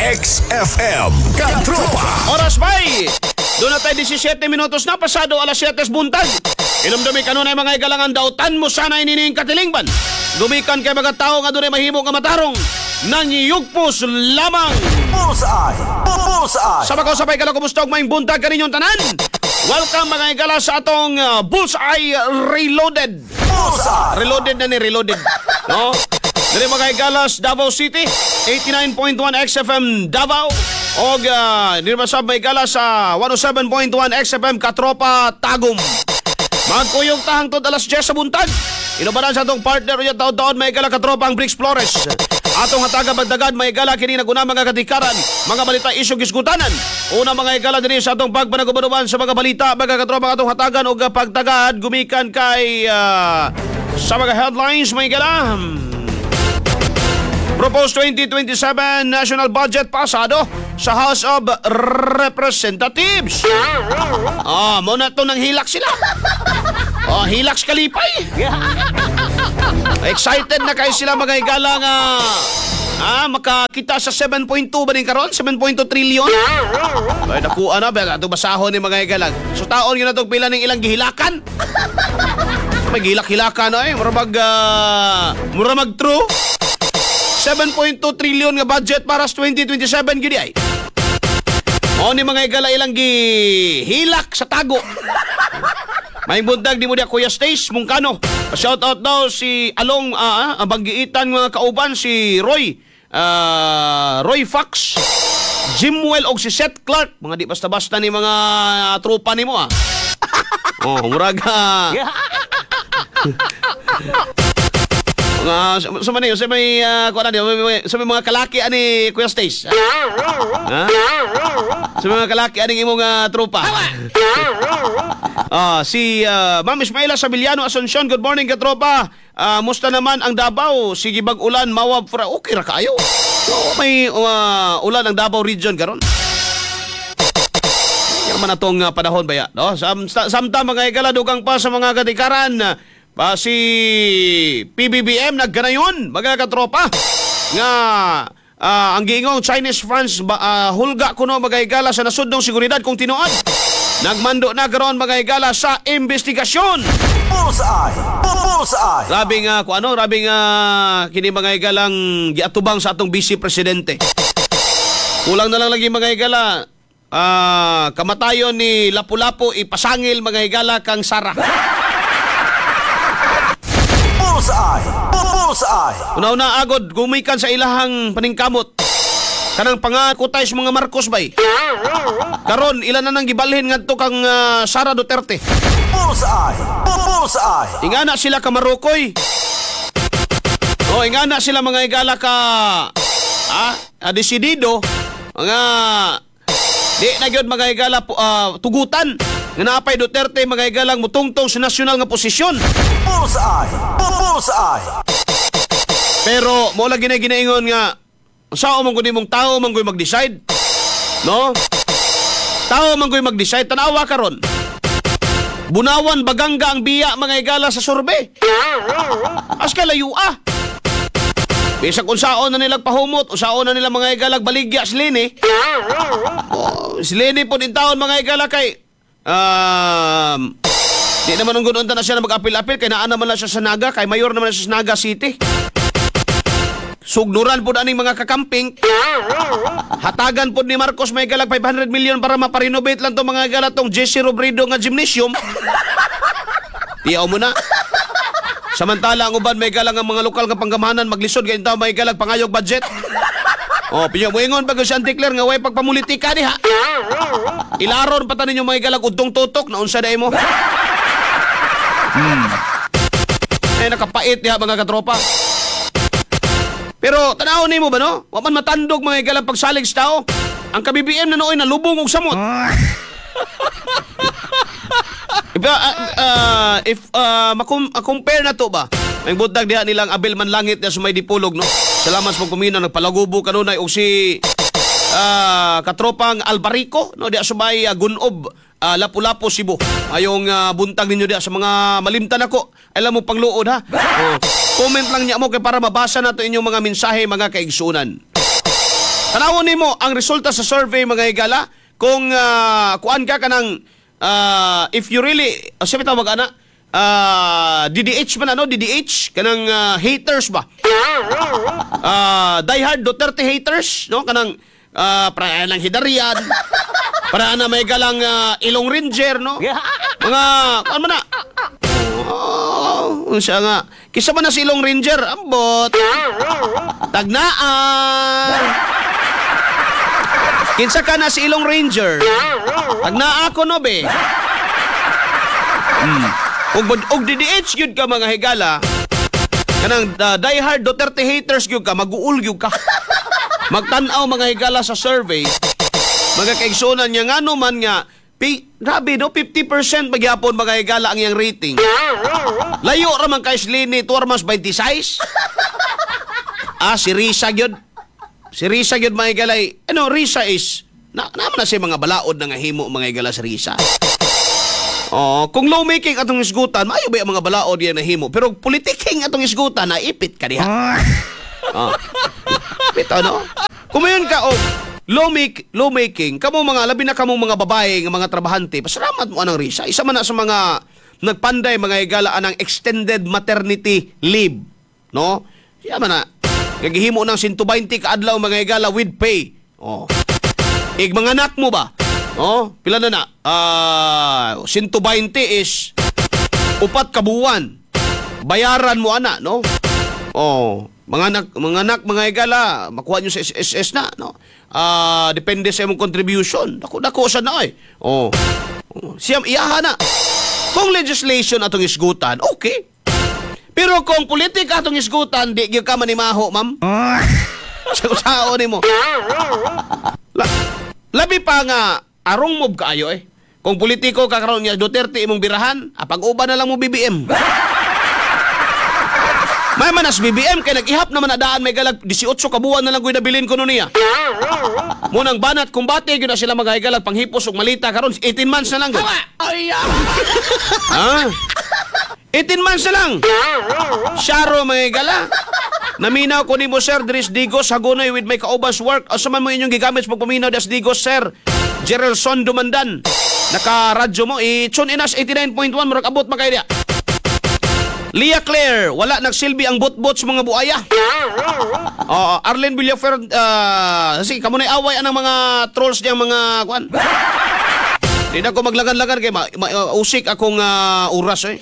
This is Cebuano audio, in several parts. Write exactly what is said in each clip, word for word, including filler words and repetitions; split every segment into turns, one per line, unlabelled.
X F M Katropa.
Oras bay! Doon na tayo labing-siyam minutos na pasado alas siyete buntag. Inumdumi kanunay, mga igalangan, dautan mo sana inining katilingban. Gumikan kay mga tao nga dunay mahimo nga matarong. Nangiyugpos lamang.
Bullseye! Bullseye!
Sa mga sabay kala, kumusta og maayong buntag kaninyong tanan? Welcome, mga igala, sa atong uh, Bullseye Reloaded.
Bullseye!
Reloaded na ni, reloaded. No? Diri, mga igalas, Davao City, eighty-nine point one X F M Davao. Og uh, diri ba sa mga igala sa one oh seven point one X F M Katropa Tagum. Magkuyog ta hangtod alas diyes sa buntag. Inubanan sa atong partner unya taon-taon, mga igala, katropa, ang Bricks Flores. Atong hataga bagdagad, mga igala, kini naguna mga katikaran, mga balita, isyu, gisgutanan. Una, mga igala, dinhi sa atong pagpanagubanuban sa mga balita, mga katropa, atong hatagan og pagtagad gumikan kay ah, sa mga headlines, mga igala. Proposed twenty twenty-seven national budget pasado sa House of Representatives. Ah, mo na to nang hilak sila. Oh, hilak sa kalipay. Excited na kayo sila, mga higala, nga ah, makakita sa seven point two ba din karon? seven point two trillion? Ay, nakuha na ba? Ato basahon ni mga higalang. So taon yun na itong pila ng ilang gihilakan. May gihilak-hilakan ay, mura mag, ah, mura mag true. seven point two trillion nga budget para sa twenty twenty-seven gid ay. O ni mga higala ilang gihilak sa tago. May buntag di mo diya, Kuya Stace Mungkano. Shout out daw si Along ah, ah, banggiitan mga kauban si Roy ah, Roy Fox, Jimwell og si Seth Clark. Mga di basta-basta ni mga tropa nimo ah. Oh, murag ah, mga sa, sa man sa may uh, kuan na sa may mga kalaki ani Kuya Stace. Ha? Sa mga kalaki aning imong uh, tropa. Ah, si ah, Ma'am Ismaila Sabiliano Asuncion, good morning, katropa. Ah, musta naman ang Davao? Sige bag ulan, mawab fra okay ra kaayo. So, may ah, ulan ang Davao region karon. Yan man atong uh, panahon baya, no? Sam, samtang mga igala, dugang pa sa mga katikaran, pa si P B B M nagganayon, mga katropa, nga ah, ang giingong Chinese funds ba, ah, hulga kuno, mga higala, sa nasudnong seguridad kung tinuod. Nagmando na karon, mga higala, sa investigasyon.
Bullseye! Bullseye!
Grabe nga kung ano, grabe nga kini, mga higalang giatubang sa atong vice presidente. Kulang na lang lagi, mga higala, ah, kamatayon ni Lapu-Lapu ipasangil, mga higala, kang Sara.
Bullseye! Bullseye!
Una-una agod gumikan sa ilahang paningkamot. Kanang pangakutay sa mga Marcos bay. Karon ilan na nang gibalhin ngadto kang ah, Sara Duterte.
Bullseye! Bullseye!
Ingana sila ka Marokoy. O ingana sila, mga higala, ka ah, ah, desidido mga di na gyud, mga higala, pu- ah, tugutan nga naapay Duterte, mga higalang, mutungtong sa nasyonal nga posisyon.
Bullseye! Bullseye!
Pero mo lagi na ginaingon nga sa man gud imong tao man gud mag-decide. No? Tao man gud mag-decide, tanawa karon. Bunawan Baganga ang biya, mga higala, sa survey. As ka layo ah. Bisag unsaon na nilang pahumot, unsaon na nila, mga higalag, baligya si Leni. Oh, si Leni po din taon, mga higala, kay um, di naman ang gununta na siya na mag-apil-apil kay naa naman na siya sa Naga, kay mayor naman na siya sa Naga City. Sugnuran po aning mga kakamping. Hatagan po ni Marcos may galag five hundred million para maparenovate lang to, mga gala, tong Jesse Robredo nga gymnasium. Tiyaw mo na. Samantala ang uban may galang ang mga lokal nga panggamahanan maglisod kay may galag pangayog budget. Oh, pinyo moingon pag si Auntie Claire nga way pagpamulitika diha. Ilaron pa ta ninyo, mga galag, udtong tutok na unsa day mo. Hmm. Eh nakapait diha, mga katropa. Pero tanawon nimo ba, no? Wa man matandog, mga higalang, pagsalig sa tao. Ang ka-B B M na nooy nalubong og samot. If, uh, uh, if uh, makum- uh, compare na to ba? May buntag diha nilang Abel Manlangit niya sa may dipulog, no? Salamat sa pagpamina, nagpalagubo kanunay og si ah, katropang Albarico, no, diha sa may uh, Gunob, ah, Lapu-Lapu, Cebu. Ayong ah, buntag ninyo diha sa mga malimtan ako. Alam mo pangluod ha. Oh, comment lang niya mo kay para mabasa nato inyong mga mensahe, mga kaigsunan. Tanawon nimo ang resulta sa survey, mga higala, kung uh, kuan ka kanang uh, if you really uh, sabi tawag ana uh, D D H man ano, D D H kanang uh, haters ba? Uh, diehard Duterte haters, no, kanang uh, para ng Heydarian, para na may galang uh, Ilong Ranger, no? Mga ano man na? Oh, unsa nga? Kisa man na si Ilong Ranger, ambot. Tagnaan. Kinsa ka na si Ilong Ranger? Tagnaa ko no be. Hmm. Ug og D D H gyud ka, mga higala. Kanang uh, diehard Duterte haters gyud ka, maguol gyud ka. Magtan-aw, mga higala, sa survey. Mga kaigsunan niya ngano man nga pi, grabe no, fifty percent magyapon, mga higala, ang iyang rating. Layo ra man kay Leni Tormas twenty-six. Ah, si Risa gyud. Si Risa gyud, mga higala. Ano, Risa is na naman na siya mga balaod na nga himo, mga higala, si Risa. Oh, kung lawmaking atong isgutan, maayo ba yung mga balaod yan nahimo? Pero politiking atong isgutan, naipit ka diha. Oh. Bitaw no? Kumayon ka og lawmake, lawmaking, kamo mga labi na kamong mga babae nga mga trabahante, pasalamat mo anang Risa. Isa man na sa mga nagpanday, mga higala, anang extended maternity leave, no? Siya man na gagihimo ng one hundred twenty ka adlaw, mga higala, with pay. Oh. Ig mga anak mo ba? Oh, pila na na? Ah, one hundred twenty is upat ka buwan. Bayaran mo ana, no? Oh, mga anak, mga anak, mga higala, makuha nyo sa S S S na, no? Ah, depende sa imong contribution. Dako dako sa na oy. Oh. Oh, siyam iyaha na. Kung legislation atong isgutan, okay. Pero kung politika atong isgutan, di gyud ka manimaho, ma'am. Sa usao nimo. La, labi pa nga arong mob kaayo eh. Kung politiko ka karon nga Duterte imong birahan, apag uban na lang mo B B M. May manas B B M kay nag-ihap naman na daan may galag eighteen ka buwan na lang ko'y nabilin ko no niya. Munang banat kumbate gyud na sila mga higalag panghipos og malita karon eighteen months na lang gyud. Ha? eighteen months na lang. Sharo, mga higala. Naminaw ko nimo, sir, diri sa Digos, Hagonoy with my kaubans work. Asa man mo inyong gigamit sa pagpaminaw das Digos, sir? Gerelson Dumandan. Naka-radyo mo, i-tune in us eighty-nine point one, murag abot man kayo diya. Leah Claire, wala nagsilbi ang bot-bot sa mga buaya. Oo, Arlene Villafer, uh, sige, kamo na away anang mga trolls niyang mga kuan. Di na ko maglagan-lagan kay ma, ma, uh, usik akong uh, oras eh.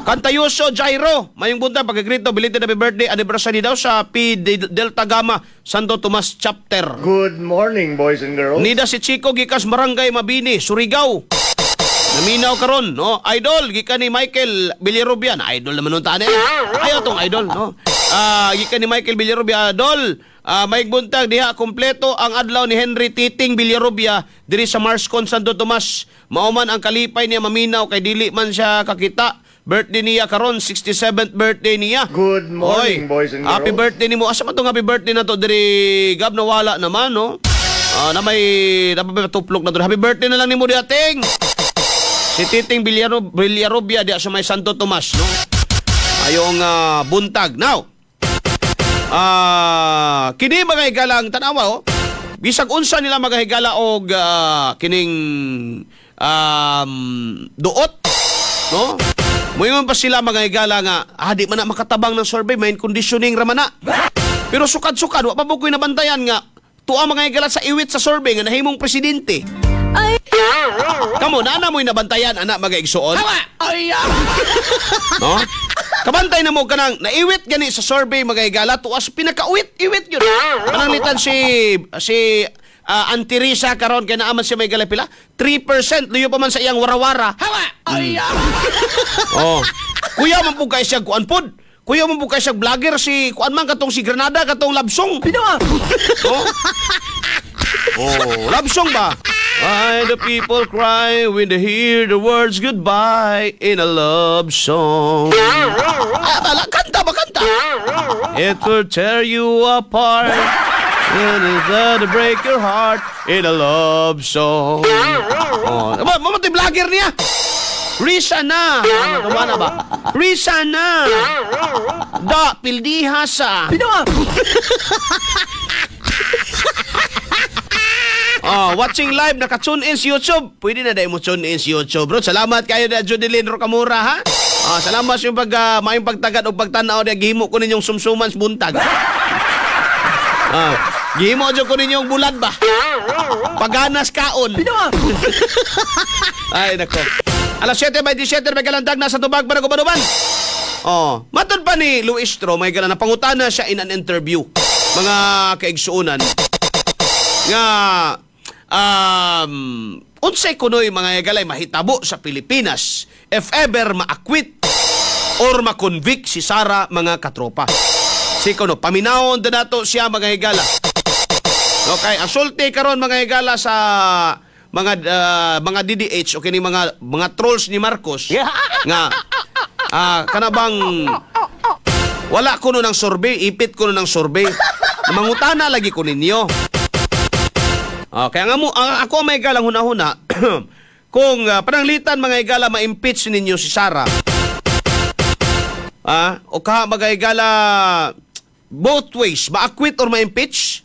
Kantayuso Jairo, mayong buntag, pagkagrito, belated happy birthday, anniversary daw sa P Delta Gamma Santo Tomas Chapter.
Good morning, boys and girls.
Nida si Chico gikas Barangay Mabini, Surigao. Naminaw karon, no? Idol gikan ni Michael Villarubian. Idol naman nun taan eh. Ayaw tong idol, no? Ah, gikan ni Michael Villarubia, idol. Ah, may buntag diha, kompleto ang adlaw ni Henry Titing Villarubia diri sa Marscon Santo Tomas. Mao man ang kalipay niya maminaw kay dili man siya kakita. Birthday niya karon, sixty-seventh birthday niya.
Good morning,
Oy,
boys and girls.
happy birthday nimo. Asa man tong happy birthday na to diri Gab, nawala naman, no? Ah, na may napapatuplok na to. Happy birthday na lang nimo diha, Ting. Si Titing Villaro, Villarubia diya sa may Santo Tomas, no? Ayong ah, buntag. Now, ah, kini mga higalang tanawa oh. Bisag unsa nila, mga higala, og ah, kining um, duot, no? Moingon pa sila, mga higala, nga ah, di man na makatabang ng survey, may conditioning ra man na. Pero sukad-sukad wa pa mo ko'y nabantayan nga tuwa, mga higala, sa iwit sa survey nga nahimong presidente. Kamo, naana mo'y nabantayan, anak, mga igsuon? No? Kabantay na mo kanang naiwit gani sa survey, mga higala, tuwas pinakauwit iwit yun. Pananglitan si si uh, Auntie Risa karon kay naaman siya may gala pila three percent, luyo pa man sa iyang warawara. Mm. Oh. Kuya man pud kay siya kuan pod. Kuya man pud kay siya vlogger si kuan man katong si Granada katong Labsong. Oh. Oh, love song ba? Why do people cry when they hear the words goodbye in a love song? Ah, bala, kanta ba kanta? It will tear you apart and it'll break your heart in a love song. Oh, ba, mo vlogger niya. Risa na. Ano ba na ba? Risa na. Da, pildiha sa. Oh, watching live, naka-tune in sa YouTube. Pwede na dahil mo tune in sa YouTube, bro. Salamat kayo na Judeline Rocamura, ha? Oh, salamat sa iyong pag, uh, maayong pagtagad o pagtanaw na gihimo ko ninyong sumsuman sa buntag. Ah, gihimo jud ko ninyong bulad ba? Paganas kaon. Ay, nako. Alas siyete bentisiete, may kalandag nasa tubag para kubanuban. Oh, matod pa ni Luistro, may galang napangutana siya in an interview. Mga kaigsuonan nga um, unsay kunoy, mga higalay, mahitabo sa Pilipinas if ever ma-acquit or ma-convict si Sara, mga katropa. Si kuno paminawon din nato siya, mga higala. Okay, ang sulti karon, mga higala, sa mga ah, mga D D H o kini mga mga trolls ni Marcos nga ah kana bang wala kuno ng survey, ipit kuno ng survey. Mangutana lagi ko ninyo. Ah, kaya nga mo, ang ako may galang huna-huna, kung ah, pananglitan, mga higala, ma-impeach ninyo si Sara. Ah, o ka mga higala, both ways, ma-acquit or ma-impeach,